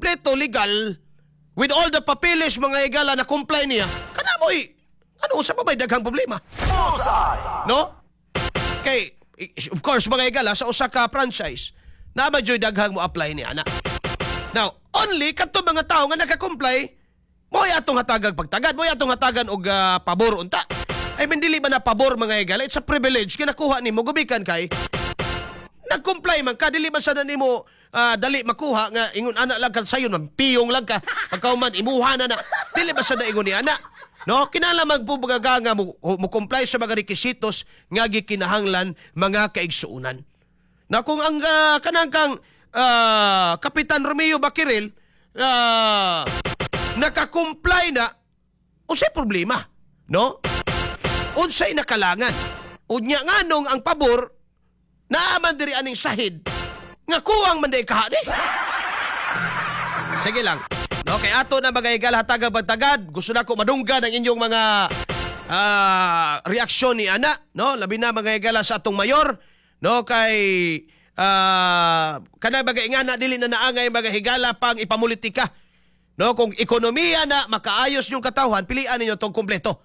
kumpleto, legal, with all the papeles, mga higala, na comply niya, kana mo'y ano, usa pa may daghang problema? Bullseye! No? Kay, of course, mga higala, sa usa ka franchise, naa man juy daghang mo apply ni ana. Now, only kadto mga tao nga naka-comply, mo atong hatagag pagtagad, mo atong hatagan og pabor unta. I mean, dili ba na pabor, mga higala? It's a privilege kinakuha nimo gubikan kay nag-comply man ka, dili man sana nimo dali makuha nga ingon ana lang ka sayon man, piyong lang ka, pagkauman imuha na na. Dili ba sana ingon ni ana? No, kinahanglan magbubugaga nga mo comply sa mga requisitos nga gikinahanglan, mga kaigsuonan. Na kung ang kanang kang Kapitan Romeo Bakiril naka-comply na, unsay problema? No? Unsay nakalangan? Unya nganong ang pabor naaman diri aning sahid nga kuwang man day kahadi. Sige lang. No, kay ato na mga higala hatagag pagtagad, gusto na ko madunggan ang inyong mga reaksyon ni ana, no? Labi na, mga higala, sa atong mayor, no, kay kanang mga ingana dili na naangay, mga higala, pang ipamulitika. No, kung ekonomiya na makaayos yung katawhan, pilian ninyo tong kumpleto.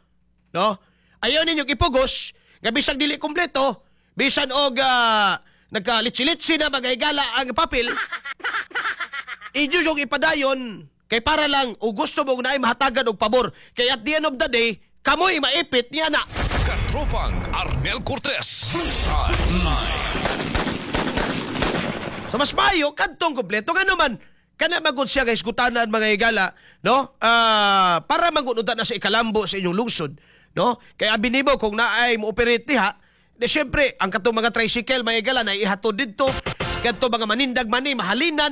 No? Ayaw ninyo ipugos nga bisag dili kumpleto, bisan og nagkalitsi-litsi na, mga higala, ang papel, inyo yung ipadayon kay para lang o gusto mo na ay mahatagan og pabor. Kay at the end of the day, kamoy maipit niya na. Katropang Arnel Cortez. Bullseye. So mas maayo kadtong kumpleto, ngano man kana magud siya guys gutanan, mga higala, no, para mangunudan na sa ikalambo sa inyong lungsod, no? Kay abi nimo kung naay mo operate diha di, syempre ang katong mga tricycle, mga higala, na ihatod didto, kadto mga manindag mani mahalinan,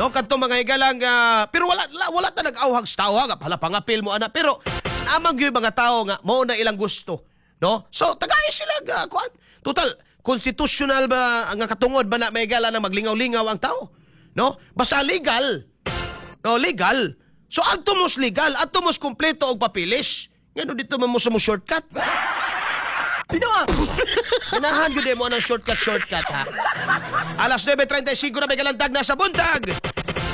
no, kadto mga higala nga, pero wala wala, wala ta nag-awhag sa tao nga pala pangapil mo ana, pero naamang gyud mga tao nga mao na ilang gusto, no? So tagay sila ga kuan, total constitutional ba nga katungod ba na may higala na maglingaw-lingaw ang tao, no? Basta legal, no? Legal. So adto mos legal, adto mos kumpleto og papeles. Ngano dito man mo sa mo shortcut? Ganahan gyud mo ang shortcut shortcut, ha. Alas 9:35 na may kalantag na sa buntag.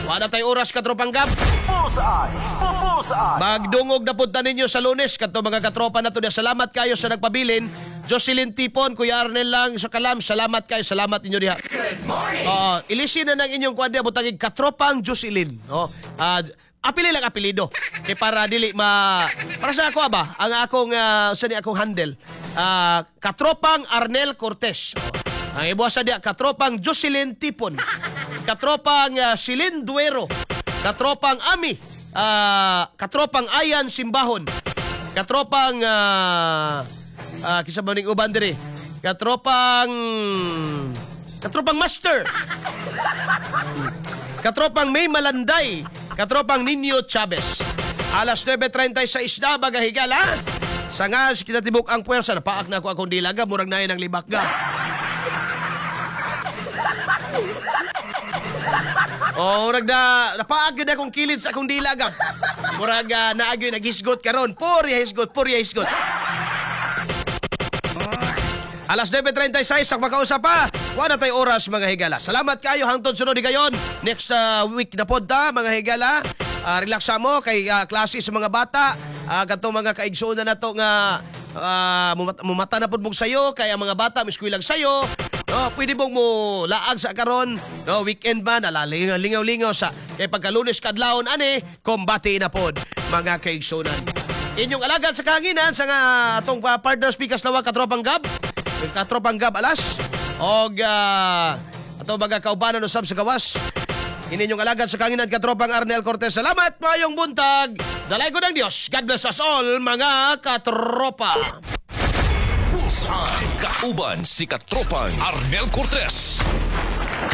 Wala tay oras, Katropang Gab. Bullseye! Bullseye! Magdungog na punta ninyo sa Lunes kadto mga katropa na to. Salamat kayo sa nagpabilin. Jocelyn Tipon, Kuya Arnel lang sa Kalam. Salamat kayo. Salamat ninyo diha. Good morning! Oo, ilisin na ng inyong kuan diha, butangig Katropang Jocelyn. Oh, apili lang apelido. Kay para dili ma para sa ako ba, ang akong sa ni akong handle. Katropang Arnel Cortez. Oh. Ang ibuasa diha, Katropang Jocelyn Tipon. Katropang Celine Duero. Katropang Ami. Katropang Ayan Simbahon. Katropang kisa ba ning uban diri? Katropang Master. Katropang May Malanday. Katropang Nino Chavez. Alas 9:36 na, mga higala. Sa nga kinatibuk ang puwersa, napaak na ako akong dilaga, murag na ng libak, Gab. Oh, murag na napaak gyud akong kilid sa akong dila, Gab. Murag naa gyud naghisgot karon. Purya hisgot, purya hisgot. Alas 9:36, sa makausap pa. Wala tay oras, mga higala. Salamat kayo hangtod sunod gayon. Next week na pod ta, mga higala. Relax mo kay klase sa mga bata. Kadtong mga kaigsuonan nato nga mumata na pod mong sayo kay ang mga bata miskuylag sayo. No, pwede mong mo laag sa karon, no, weekend ba nalalingaw lingaw-lingaw sa kay pagka Lunes kadlawon ani kombate na pod, mga kaigsuonan. Inyong alagad sa kahanginan sa nga atong partner speakers lawa, Katropang Gab. Katropang Gab Alas og atong mga kaubanan usab sa gawas. Ininyong alagad sa kahanginan, Katropang Arnel Cortez. Salamat, maayong buntag. Dalay ko ng Diyos. God bless us all, mga katropa. Bullseye. Kauban si Katropang Arnel Cortez.